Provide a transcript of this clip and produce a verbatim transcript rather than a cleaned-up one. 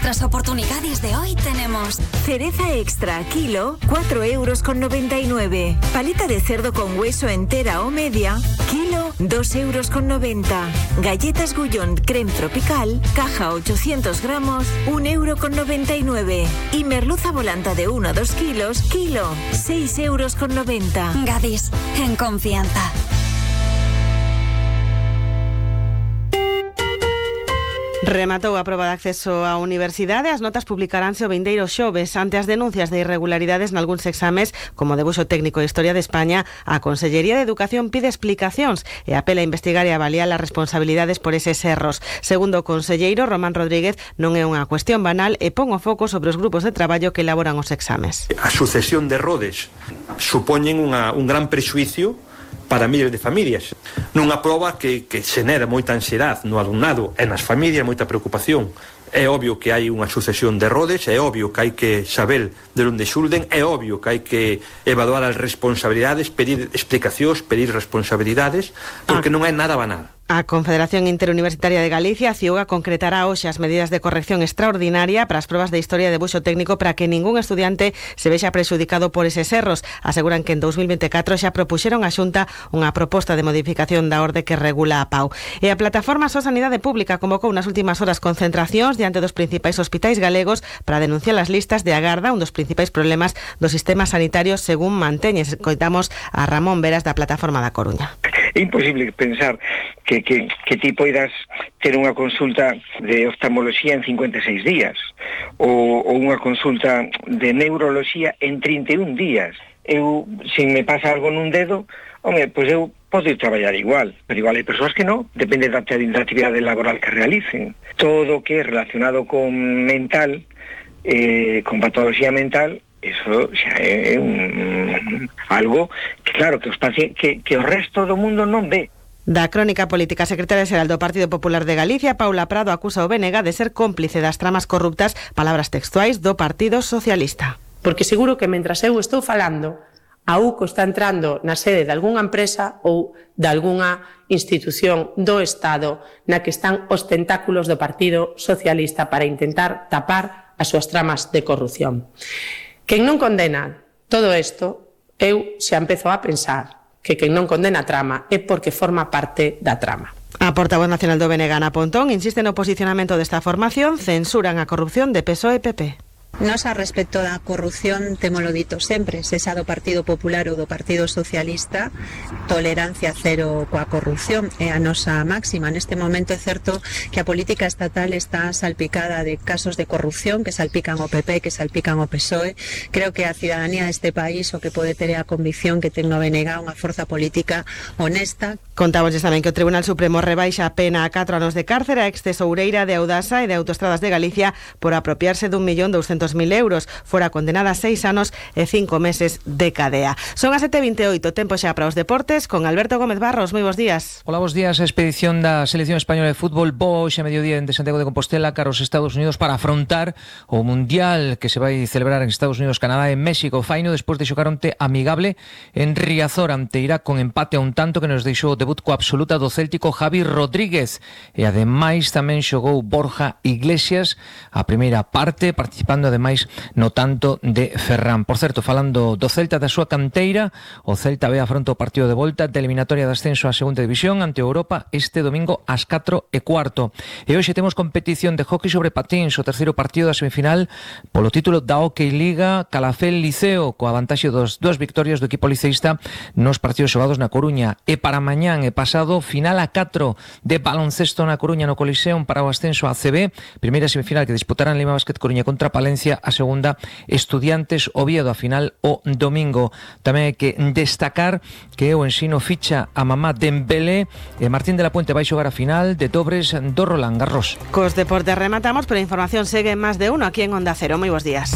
las oportunidades de hoy tenemos cereza extra kilo, cuatro euros con noventa y nueve. Paleta de cerdo con hueso entera o media, kilo, dos euros con noventa. Galletas Gullón creme tropical, caja ochocientos gramos, un euro con noventa y nueve. Y merluza volanta de uno a dos kilos, kilo, seis euros con noventa. Gadis, en confianza. Rematou a proba de acceso á universidade. As notas publicaránse o vindeiro xoves. Ante as denuncias de irregularidades nalgúns exames, como debuxo técnico e Historia de España, a Consellería de Educación pide explicacións e apela a investigar e avaliar as responsabilidades por eses erros. Segundo o conselleiro Román Rodríguez, non é unha cuestión banal e pon o foco sobre os grupos de traballo que elaboran os exames. A sucesión de errores supoñen unha, un gran prexuicio para miles de familias. Nunha proba que, que xenera moita ansiedade no alumnado e nas familias, moita preocupación. É obvio que hai unha sucesión de errores, é obvio que hai que saber de onde xulden, é obvio que hai que evaluar as responsabilidades, pedir explicacións, pedir responsabilidades, porque ah. non é nada banal. A Confederación Interuniversitaria de Galicia, CIUGA, concretará hoxe as medidas de corrección extraordinaria para as probas de Historia e debuxo técnico para que ningún estudiante se vexa prexudicado por eses erros. Aseguran que en dos mil veinticuatro xa propuxeron á Xunta unha proposta de modificación da orde que regula a P A U. E a Plataforma So Sanidade Pública convocou nas últimas horas concentracións diante dos principais hospitais galegos para denunciar as listas de agarda, un dos principais problemas do sistema sanitario, según manteñes. Coitamos a Ramón Veras da Plataforma da Coruña. É imposible pensar que, que, que ti poidas ter unha consulta de oftalmoloxía en cincuenta e seis días ou, ou unha consulta de neuroloxía en trinta e un días. Eu, se me pasa algo nun dedo, home, pois eu podo ir traballar igual, pero igual hai persoas que non, depende da, da actividade laboral que realicen. Todo o que é relacionado con mental, eh, con patoloxía mental, eso xa é un, algo que claro que os pacientes, que, que o resto do mundo non ve. Da Crónica Política, a secretaria xeral do Partido Popular de Galicia, Paula Prado, acusa o B N G de ser cómplice das tramas corruptas, palabras textuais do Partido Socialista. Porque seguro que mentras eu estou falando, a U C O está entrando na sede de algunha empresa ou de algunha institución do Estado na que están os tentáculos do Partido Socialista para intentar tapar as súas tramas de corrupción. Quen non condena todo isto, eu xa empezo a pensar que quen non condena a trama é porque forma parte da trama. A portavoz nacional do B N G, Ana Pontón, insiste no posicionamento desta formación, censuran a corrupción de P S O E e P P. Nos a respecto da corrupción, temolo dito sempre, sexa do Partido Popular ou do Partido Socialista, tolerancia cero coa corrupción é a nosa máxima. Neste momento é certo que a política estatal está salpicada de casos de corrupción que salpican o P P, que salpican o P S O E. Creo que a cidadanía deste país o que pode ter a convicción que ten no B N G unha forza política honesta. Contamos tamén que o Tribunal Supremo rebaixa a pena a catro anos de cárcere a ex-tesoureira de Audasa e de Autostradas de Galicia por apropiarse dun millón douscentos mil euros. Fora condenada a seis anos e cinco meses de cadea. Son as sete e vinte e oito, tempo xa para os deportes con Alberto Gómez Barros. Moi bons días. Hola, bons días. A expedición da Selección Española de Fútbol bo hoxe a mediodía de Santiago de Compostela cara aos Estados Unidos para afrontar o Mundial que se vai celebrar en Estados Unidos, Canadá e México. Faino despois de xogar onte amigable en Riazor ante Irak con empate a un tanto que nos deixou o debut coa absoluta do céltico Javi Rodríguez e ademais tamén xogou Borja Iglesias a primeira parte, participando ademais no tanto de Ferran. Por certo, falando do Celta da súa canteira, o Celta ve afronta o partido de volta de eliminatoria de ascenso á segunda división ante Europa este domingo ás catro e cuarto. E hoxe temos competición de hockey sobre patíns, o terceiro partido da semifinal polo título da Hockey Liga Calafel Liceo, coa vantaxe dos dúas victorias do equipo liceísta nos partidos xogados na Coruña. E para mañán e pasado, final a catro de baloncesto na Coruña no Coliseum para o ascenso a C B, primeira semifinal que disputarán Lima Basket Coruña contra Palencia, a segunda Estudiantes Oviedo, a final o domingo. Tamén hai que destacar que o Ensino ficha a Mamá Dembélé e Martín de la Puente vai xogar a final de dobres do Roland Garros. Cos deportes rematamos, pero a información segue en Más de Uno aquí en Onda Cero. Moi bons días.